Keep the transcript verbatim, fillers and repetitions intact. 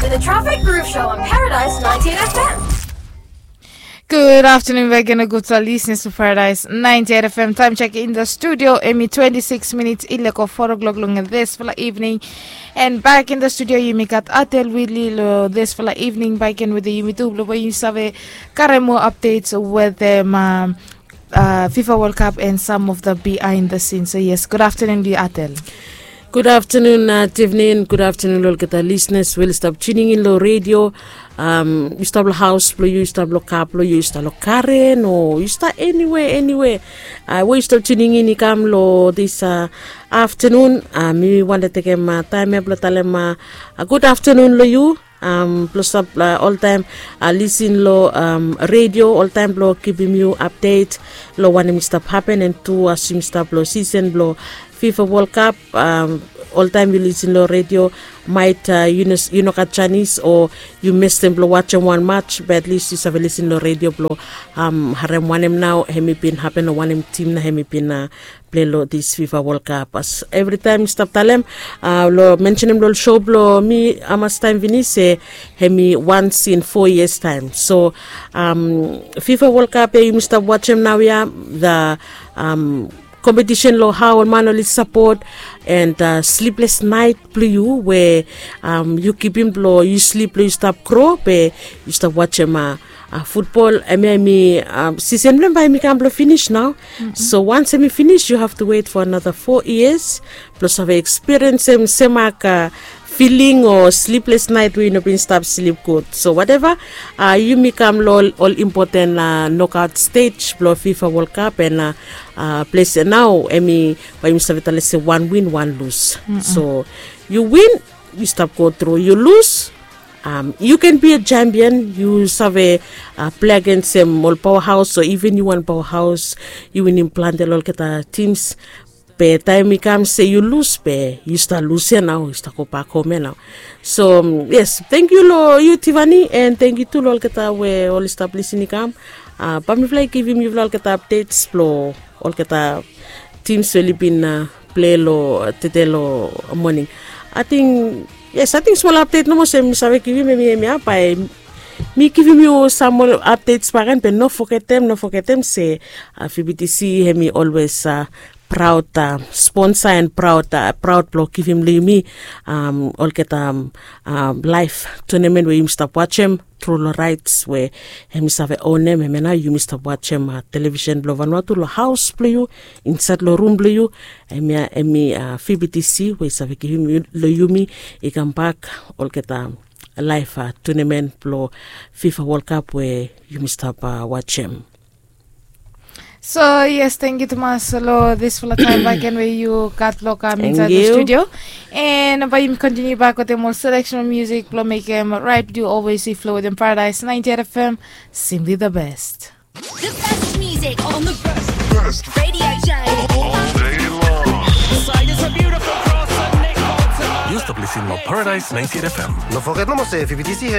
with the Traffic Groove Show on Paradise ninety-eight F M. Good afternoon, back in a good listeners to Paradise ninety-eight F M. Time check in the studio, hemi twenty-six minutes i leko four o'clock long disfala evening. And back in the studio, yumi gat Atel Willie lo disfala evening, back in with the yumi tu, lo yumi save karem more updates with them, um, uh, FIFA World Cup and some of the behind the scenes. So yes, good afternoon, Atel. Good afternoon, uh, Tiffany, and good afternoon, lo olgeta listeners we oli stap tuning in lo radio. Um, yu stap lo haus blo yu, yu stap lo kar blo yu, yu stap lo karen, o yu stap anywhere, anywhere. Uh, we yu stap tuning in i kam lo this, uh, afternoon. Uh, mi wanta tekem, uh, taem ya blo talem, uh, a good afternoon lo yu. Um, blo stap, uh, oltaem, uh, lisin lo, um, radio oltaem blo givim yu update lo wanem i stap hapen, and tu as yumi stap lo season blo FIFA World Cup, um, oltaem yu lisin lo radio, maet, uh, yu no, yu no gat janis o yu mestem blo wajem wan match, be at least yu save lisin lo radio blo, um, harem wanem nao hemi bin hapen o wanem tim nao hemi bin, uh, plei lo this FIFA World Cup. As evri taem mi stap talem, uh, lo mensenem lo show blo mi hamas taem finis se hemi once in four years taem. So, um, FIFA World Cup ya yumi stap wajem naoia, the, um, competition lo hao ol man oli sapot, and, uh, sleepless night blo yu we, um, yu kipim blo yu slip lo yu stap gro be yu stap wajem, uh, uh, futbol, hemia hemi, um, season blo hem bae hemi kam blo finis nao. So once hemi finis, you have to wait for another four years blo save experience hem, sem, uh, feeling o sleepless night we yu no bin stap slip gud. So whatever, uh, yumi kam lo ol, ol important, uh, knockout stage blo FIFA World Cup, and, uh, uh, ples ya nao hemi bae yumi save talem se wan win, wan lus. So yu win, yu stap go tru. Yu lus, um, you can be a champion. Yu save, uh, plei agensem ol powerhouse, o even yu wan powerhouse, yu winim plante lo olgeta teams. Be taem i kam se yu lus, be yu stap lus ya nao, yu stap gobak hom ya nao. So, um, yes, tangkiu lo yu, Tiffany, and tangkiu tu lo olgeta we oli stap lisin i kam. Uh, bae mifala i givim yufala olgeta updates blo olgeta teams we oli bin, uh, plei lo, uh, tede lo moning. Ating, yes, ating smol update nomo se mi save givim, hemi, hemia bae mi givim yu sam moa updates bakegen, be no fogetem, no fogetem se, uh, VBTC hemi always, uh, proud, uh, sponsor and proud, uh, proud blo givim lo yumi, um, olgeta, um, uh, live tournament we yumi stap wajem tru lo rights we hemi save own hem, hemia nao yumi stap wajem, uh, television blo Vanuatu lo haus blo yu, insaed lo rum blo yu. Hemia, hemi, uh, VBTC we i save givim yu, lo yumi i kambak olgeta live, uh, tournament blo FIFA World Cup we yumi stap, uh, wajem. So yes, tangkiu tumas lo disfala taem bakegen we yu gat lo kam insaed lo studio. And bae yumi kontiniu bak wetem ol selection music blo mekem right with you always, i flow wetem Paradise ninety-eight F M, simply the best. The best music on the best radio show all day long. Yu stap lisin lo Paradise ninety-eight F M. No foget nomo se VBTC